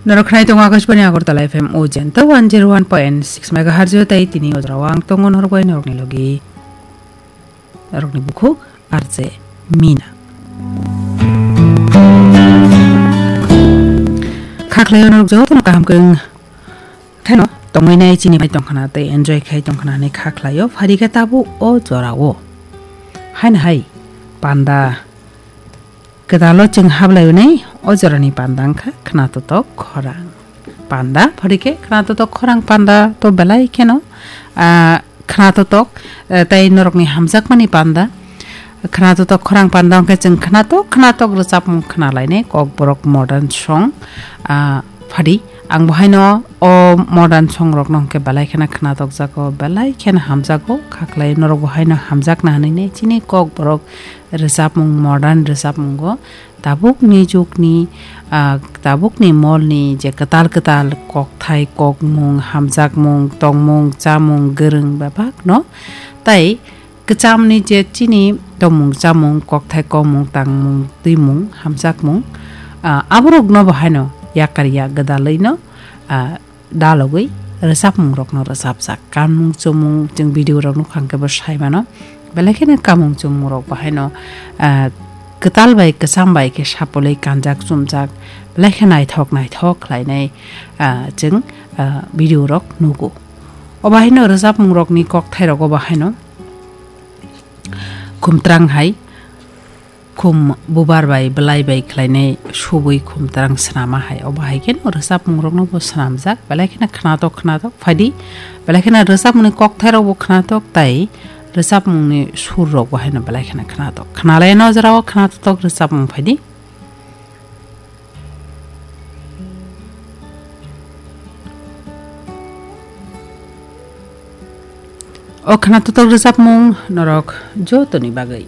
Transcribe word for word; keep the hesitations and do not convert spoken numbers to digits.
Norok khnai tongo Akashbani Agartala F M o jento one zero one point six megahertz o tei tini o jora o ang tongo norok bai norokni logi norokni bukhuk R J Mina. Kha khlaio norok jotono kaham kwrwng kheno tongwi nai chini bai tongkhana tei enjoy khai tongkhana hinwi kha khlaio phari khe tabuk o jora o. Haino hai panda Kwdalo chwng hablaionai o jorani panda wngkha khwnatotok khorang panda. Phorikhe khwnatotok khorang panda to belai kheno, ah, khwnatotok, eh, tei norokni hamjakmani panda. Khwnatotok khorang panda wngkhe chwng khwnatok khwnatok rwchapmung khwnalainai kokborok modern song, ah, phadi. Ang bo haino o modern song rokno hwnkhe belai kheno khwnatok jago, belai kheno hamjago, khaklai norok bo haino hamjakna hinwi chini kokborok rwchapmung, modern rwchapmungo tabukni jukni, ah, tabukni molni je kwtal kwtal kokthai, kokmung, hamjakmung, tongmung, chamung, gwrwng bebakno tai kwchamni je chini tongmung, chamung, kokthai, kokmung, tangmung, twimung, hamjakmung, ah, aborokno bo haino yakar ya gwdalwino, ah, dalogwi rwchapmungrokno rwchapjak. Kanmung chumung chwng video rok nukha hwnkhe bo sai mano. Belai kheno kamung chumung rok bo haino, ah, kwtal bai kwcham bai khe sapolwi kanjak chumjak. Belai khe naithok naithok khlainai, ah, chwng, ah, video rok nugo. Obo haino rwchapmung rokni kokthai rogo bo haino khumtrang hai khum bubar bai belai bai khlainai subui khumtrang swnama hai. Obo hai kheno rwchapmung rokno bo swnamjak. Belai kheno khwnatok khwnatok phaidi. Belai kheno rwchapmungni kokthai rok bo khwnatok tai rwchapmungni sur rok bo haino belai kheno khwnatok. Khwnalai no jora o khwnatok rwchapmung phaidi. O khwnatok rwchapmung norok jotoni bagwi.